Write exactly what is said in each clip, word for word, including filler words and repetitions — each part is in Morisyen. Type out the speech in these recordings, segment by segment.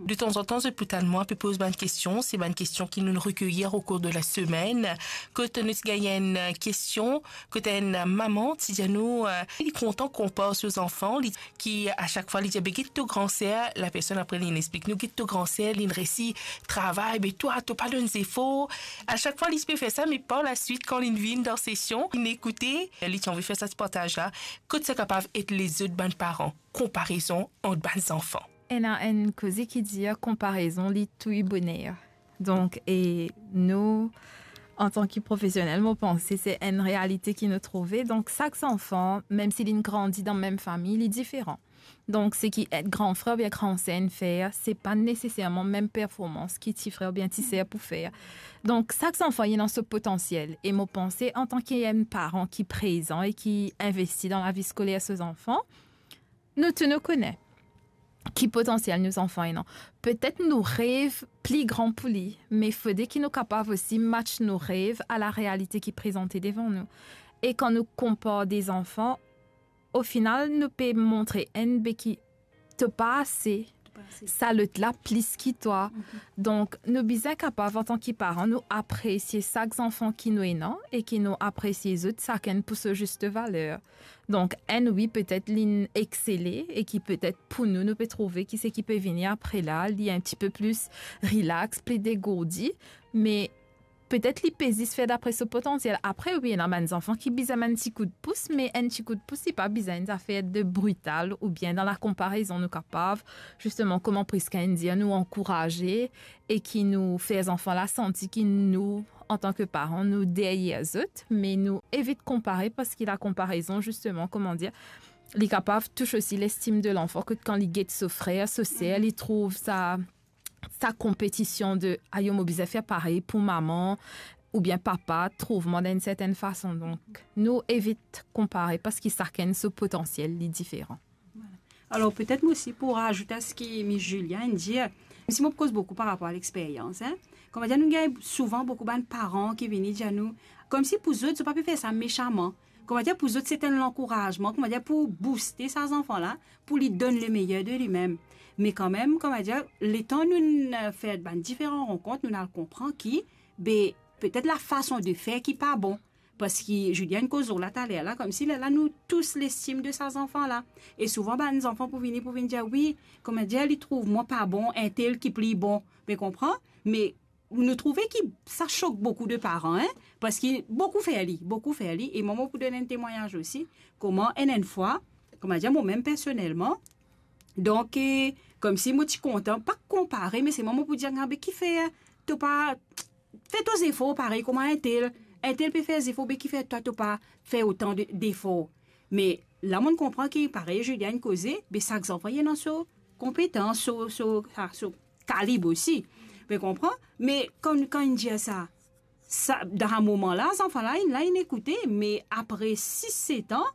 De tanzantan, zot pou tann mwa, pe poz bann kestion. Se bann kestion ki nou rekeyir o kour de la semenn. Kot nou ti gagn enn, eh, kestion, kot enn, eh, mama ti dir nou, eh, li kontan konpar so zanfan, li, ki a sak fwa li dir, "Be get to gran ser," lapersonn apre linn explik nou, "Get to gran ser, linn resi travay, be twa, to pa donn zefor." A sak fwa li ti pe fer sa, me par laswit, kan linn vinn dan sesion, linn ekoute, li ti anvi fer sa ti partaz la, kot sa kapav ed lezot bann paran, konparezon ant bann zanfan. Ena enn koze ki dir, konparezon, li touy boner. Donk, e nou, antan ki profesionel, mo panse se enn realite ki nou trouve. Donk, sak zanfan, mem si linn grandi dan mem fami, li diferan. Donk, seki enn gran frer oubien gran ser inn fer, se pa neseserman mem performans ki ti frer oubien ti ser pou fer. Donk, sak zanfan ena so potansiel. E mo panse, antan ki enn paran ki prezan e ki investi dan lavi skoler so zanfan, nou tou nou kone ki potansiel nou zanfan ena. Petet nou rev pli gran pou li, me fode ki nou kapav osi match nou rev a la realite ki prezante devan nou. E kan nou konpar de zanfan, o final, nou pe montre enn be ki to pa ase, to pa ase, sa lot la plis ki twa. Mhm. Donk, nou bizin kapav, antan ki paran, nou apresie sak zanfan ki nou ena e ki nou apresie zot sakenn pou so zis valer. Donk, enn, wi, petet linn eksele e ki petet pou nou, nou pe trouve ki seki pe vini apre la, li enn tipe plis relax, pli degourdi, me petet li pe zis fer dapre so potansiel. Apre, wi, ena bann zanfan ki bizin enn ti koudpous, me enn ti koudpous, li pa bizin enn zafer de brital oubien dan lakonparezon. Nou kapav, zisteman, kouma Prisca inn dir, nou ankouraze e ki nou fer zanfan la santi ki nou, antan ki paran, nou deryer zot, me nou evit konpare, parski lakonparezon, zisteman, kouma dir, li kapav tous osi lestim de lanfan, kot kan li get so frer, so ser, li trouv sa, sa konpetision de, "Ayo, mo bizin fer parey pou mama oubien papa trouv mwa dan enn sertenn fason." Donk, nou evit konpare, parski sakenn so potansiel, li diferan. Vwala. Alor, petet mwa osi pou razout a seki Miss Julia inn dir, mem si mo pou koz boukou par rapor a lexperyans, en. Kouma dir, nou gagn souvan boukou bann paran ki vini dir nou, koumsi pou zot, zot pa pe fer sa mesaman. Kouma dir, pou zot, se enn lankourazman, kouma dir, pou bouste sa zanfan la, pou li donn lemeyer de limem. Me kanmem, kouma dir, letan nou, eh, fer bann diferan rankont, nou al konpran ki, be, petet lafason de fer ki pa bon. Parski Julia inn koz lor la taler la, koumsi lerla nou tous lestim de sa zanfan la. E souvan bann zanfan pou vini, pou vinn dir, "Wi, kouma dir, li trouv mwa pa bon, entel ki pli bon." Be konpran? Me nou trouve ki sa sok boukou de paran, en, parski boukou fer li, boukou fer li, e mwa mo pou donn enn temwagnaz osi, kouma enn, enn fwa, kouma dir, mwa mem personelman, donk, eh, koumsi mo ti kontan, pa konpare, me se mwa mo pou dir, "Abe, kifer to pa fer to zefor parey kouma entel, entel pe fer zefor, be kifer twa to pa fer otan de, defor?" Me la, mo'nn konpran ki parey Julia inn koze, be sak zanfan ena so konpetans, so, so, sa, so kalib osi. Be konpran? Me kan, kan inn dir sa, sa, dan sa moman la, zanfan la, inn la, inn ekoute, me apre sis, set an,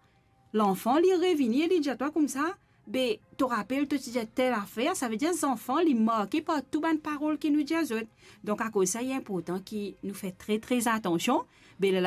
lanfan, li revini e li dir twa koumsa, be, to rapel, to ti dir tel afer, savedir zanfan, li marke par tou bann parol ki nou dir zot. Donk, akoz sa, li inportan ki nou fer tre, tre atansion. Be, lerla,